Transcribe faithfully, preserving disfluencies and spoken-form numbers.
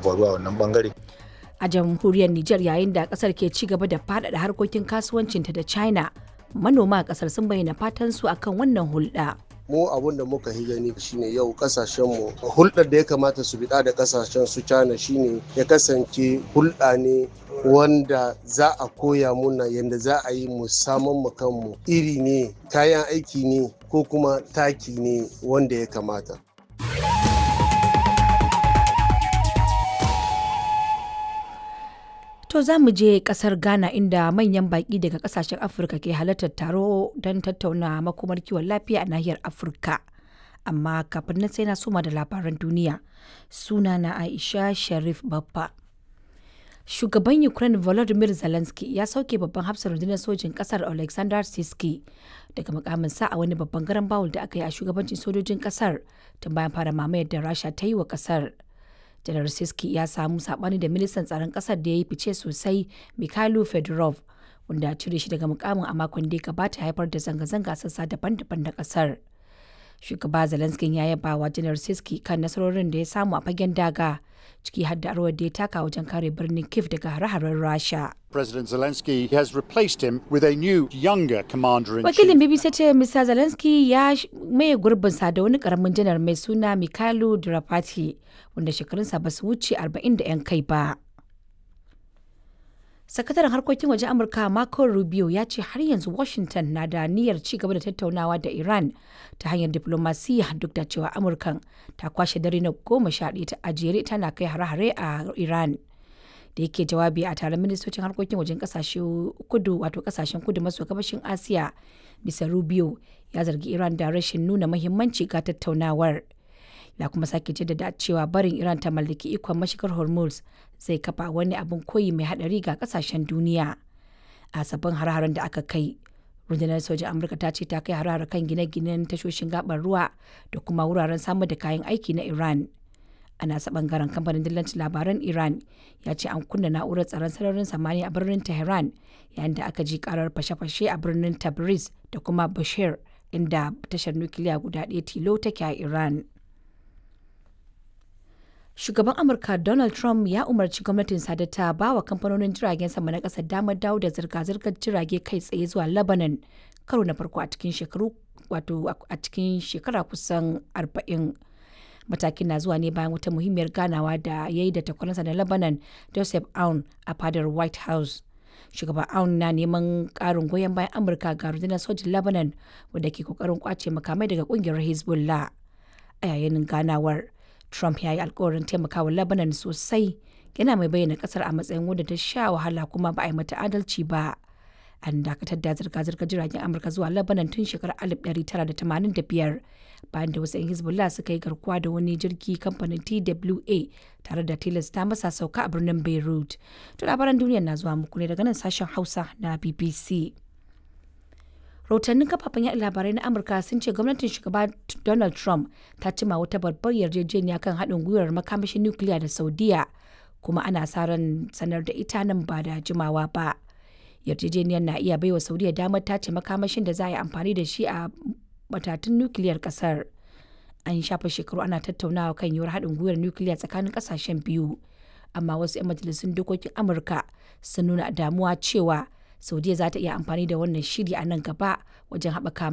faruwa a wannan bangare. A jamhuriyar Nijar, yayin da kasar ke ci gaba da faɗaɗa harkokin kasuwancinta da China, manoma a kasar sun bayyana fatan su akan wannan hulɗa. Mu abun da muka yi gani shine yau kasashenmu hulɗar da ya kamata su biɗa da kasashen su China shine ya kasance hulɗa ne wanda za a koya muna yadda za a yi mu saman mu kanmu iri ne, kayan aiki ne, ko kuma taki ne wanda ya kamata. To, za mu je kasar Ghana, inda manyan baƙi daga kasashen Afirka ke halartar taro don tattauna makomar kiwon lafiya a nahiyar Afirka. Amma kafin nan sai na soma da labaran duniya. Sunana Aisha Sharif Babba. Shugaban Ukraine Volodymyr Zelensky ya sauke babban hafsar rundunar sojin kasar Alexander Siski daga mukaminsa a wani babban garan bawul da aka yi a shugabancin sojojin kasar tun bayan fara mamayar da Rasha ta yi wa kasar. Janar Siski ya samu sabani da ministan tsaron kasar da ya yi fice sosai, Mikhailo Fedorov, wanda cire shi daga mukamin a makon da ya gabata haifar da zanga-zanga sassa daban-daban na kasar. Shugaba Zelensky ya yaba wa Janar Siski kan nasarorin da ya samu a fagen daga, ciki har da rawar da ya taka wajen kare birnin Kiev daga hare-haren Rasha. President Zelensky has replaced him with a new, younger commander in Wakilin B B C ce Mister Zelensky ya maye gurbinsa da wani karamin janar mai suna Mikhailo Drapati, wanda shekarunsa ba su wuce arba'in da 'yan kai ba. Sakataren harkokin wajen Amurka Marco Rubio ya ce har yanzu Washington na da niyyar ci gaba da tattaunawa da Iran ta hanyar diplomasiya, duk da cewa Amurkan ta kwashe dare na goma sha ɗaya ta ajere tana kai hare-hare a Iran. Da yake jawabi a taron ministocin harkokin wajen kasashe kudu, wato kasashen kudu maso gabashin Asiya, Mister Rubio ya zargi Iran da rashin nuna muhimmanci ga tattaunawar. Ya kuma sake jaddada cewa barin Iran ta mallaki ikon mashigar Hormuz zai kafa wani abin koyi mai hadari ga kasashen duniya. A sabbin hare-haren da aka kai, rundunar sojin Amurka ta ce ta kai hare-hare kan gine-ginen tashoshin gabar ruwa da kuma wuraren samar da kayan aiki na Iran. A nasa bangaren, kamfanin dillancin labaran Iran ya ce an kunna na'urar tsaron sararin samaniya a birnin Tehran, yayin da aka ji karar fashe-fashe a birnin Tabriz da kuma Bashir, inda tashar nukiliya guda ɗaya tilo take a Iran. Shugaban Amurka Donald Trump ya umarci gwamnatin da ta ba wa kamfanonin jiragen sama na ƙasar damar dawo da zirga-zirgar jirage kai tsaye zuwa Lebanon karo na farko a cikin shekaru, wato a cikin shekara kusan arba'in. Matakin na zuwa ne bayan wata muhimmiyar ganawa da ya yi da takwaransa na Lebanon, Joseph Aoun, a fadar White House. Shugaban Aoun na neman karin goyon bayan Amurka ga rundunar sojin Lebanon wadda ke kokarin kwace makamai daga kungiyar Hezbollah. A yayin ganawar, Trump ya yi alkawarin taimakawa Lebanon sosai, yana mai bayyana kasar a matsayin wadda ta sha wahala kuma ba a yi mata adalci ba. An dakatar da zirga-zirgar jiragen Amurka zuwa Lebanon tun shekarar alif ɗari tara da tamanin da biyar, bayan da wasu 'yan Hezbollah suka yi garkuwa da wani jirgi kamfanin T W A tare da tilasta masa sauka a birnin Beirut. To, labaran duniya na zuwa muku ne daga nan sashen Hausa na B B C. Rahotannin kafafen yaɗa labarai na Amurka sun ce gwamnatin Shugaba Donald Trump ta cima wata babbar yarjejeniya kan haɗin gwiwar makamashin nukiliya da Saudiya, kuma ana sa ran sanar da ita nan ba da jimawa ba. Yarjejeniyar na iya baiwa Saudiya damar tace makamashin da za a yi amfani da shi a matatun nukiliyar kasar. An shafa shekaru ana tattaunawa kan yiwuwar haɗin gwiwar nukiliya tsakanin ƙasashen biyu, amma wasu 'yan majalisun dokokin Amurka sun nuna damuwa cewa Saudiya za ta iya amfani da wannan shiri a nan gaba wajen haɓaka